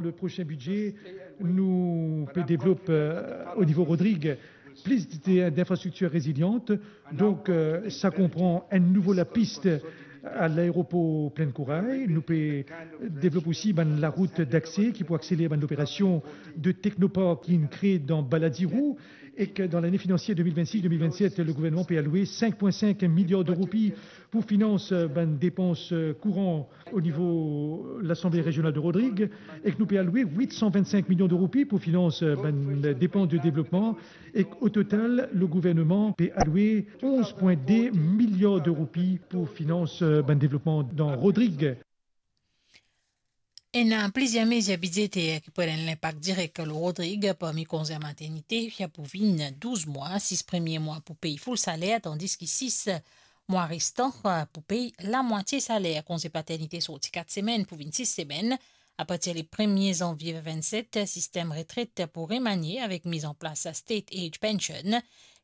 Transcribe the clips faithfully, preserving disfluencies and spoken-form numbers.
Le prosin bidze, nou pe devlop, eh, o nivo Rodrig, plis de, dinfrastriktir reziliant. Donk, eh, sa konpran enn nouvo lapis a laeropor Plaine Corail. Nou pe devlop osi bann larout dakse ki pou akseler bann loperasion de teknopark ki inn kree dan Balladirou. Ek dan lane finansier de mil vennsis de mil vennset, le gouvernman pe aloue sink pwin sink miliar de roupi pou finans, eh, bann depans, eh, kouran o nivo Lasanble Rezional de Rodrig, ek nou pe aloue wit san vennsenk milion de roupi pou finans, eh, bann depans de devlopman, ek o total, le gouvernman pe aloue onz pwin de miliar de roupi pou finans, eh, bann devlopman dan Rodrig. Ena plizier mezir bidzeter ki pou ena enn linpak direk lor Rodrig, parmi konze maternite, ki pou vinn douz mwa, sis premie mwa pou pey full saler, tandis ki sis mwa restan pou pey lamwatie saler. Konze paternite sorti kat semenn pou vinn sis semenn. Apartir le premie zanvie vennset, sistem retret pou remanie avek miz an plas State Age Pension,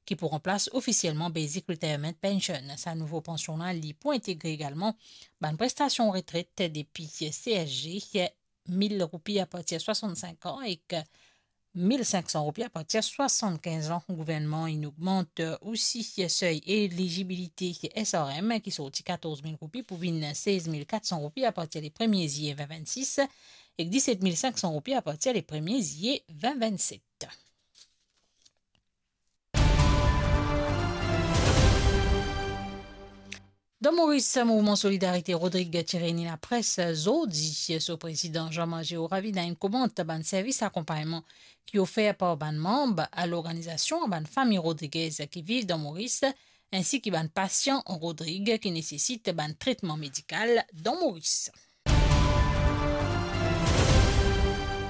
ki pou ranplas ofisielman Basic Retirement Pension. Sa nouvo pansion la, li pou integre egalman bann prestasion retret depi C S G, mil roupi apartir swasant-sink an ek mil sink san roupi apartir swasant-kinz an. Gouvernman inn ogmant osi sey elizibilite S R M, ki sorti katorz mil roupi pou vinn sez mil kat san roupi apartir le premie ziye vin vennsis, ek diset mil sink san roupi apartir le premie ziye vin vennset. Dan Moris, Mouvman Solidarite Rodrig ti reyni lapres zordi. So prezidan Jean-Marc Georavida inn komant bann servis akonpagnman ki ofer par bann manb a lorganizasion a bann fami Rodriguez ki viv dan Moris, ensi ki bann pasian Rodrig ki nesesit bann tretman medikal dan Moris.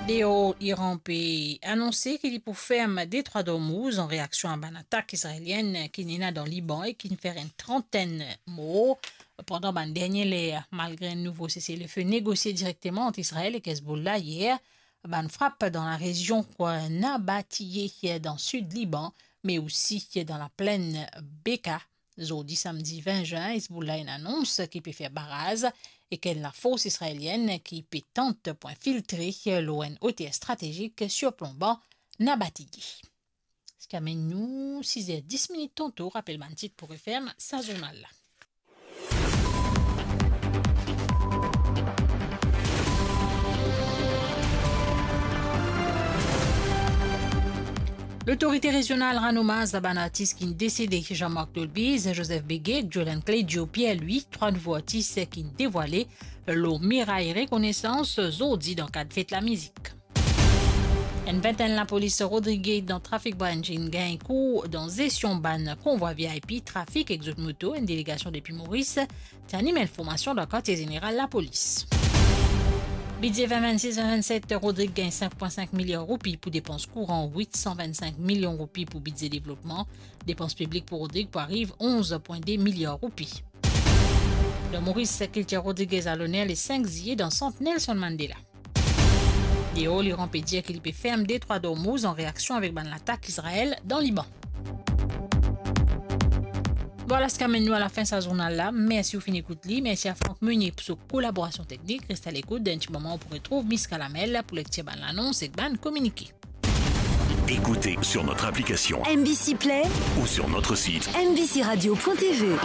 Deor, Iran pe anonse ki li pou ferm Detrwa Ormouz an reaksion a bann atak izraelienn ki ena dan Liban e ki fer enn trantenn mor pandan bann dernie ler. Malgre enn nouvo sese-le-fe negosie direkteman ant Izrael ek Hezbollah yer, bann frap dan larezion Nabatieh dan sid Liban, me osi dan laplenn Beka, Zordi samdi vin zin, Hezbollah inn anons ki pe fer baraz ek enn lafors izraelienn ki pe tant pou infiltre lor enn oter stratezik sirplonban Nabatieh. Sa amenn nou siz er dis minit tanto, rapel bann tit pou referm sa zournal la. Lotorite rezional rann omaz a bann artis ki'nn desede, Jean-Marc Dolbiz, Joseph Beguet, Jolan Clédio, Pierre Louis, trwa nouvo artis ki'nn devwale lor miray rekonesans zordi dan kad fet lamizik. Enn vintenn lapolis Rodrig dan trafik branch inn gagn kour dan zesion bann konvwa V I P, trafik ek zot moto. Enn delegasion depi Moris ti anim enn formasion dan kartie zeneral lapolis. Bidze vin vennsis vin vennset, Rodrig gagn sink pwin sink miliar roupi pou depans kouran, wit san vinn sink milion roupi pou bidze devlopman. Depans piblik pou Rodrig pou ariv onz pwin de miliar roupi. Dan Moris, kiltir rodrigez a loner le sink ziye dan sant Nelson Mandela. Deor, Liran pe dir ki li pe ferm Detrwa Dormouz an reaksion avek bann latak Izrael dan Liban. Bon, la sa amenn nou a lafin sa zournal la. Mersi ou finn ekout li. Mersi a Franck Meunier pou so kolaborasion teknik. Res a lekout, dan enn ti moman ou pou retrouv Miska Lamel pou lektir bann lanons ek bann kominike. Écoutez sur notre application M B C Play ou sur notre site M B C radio point T V.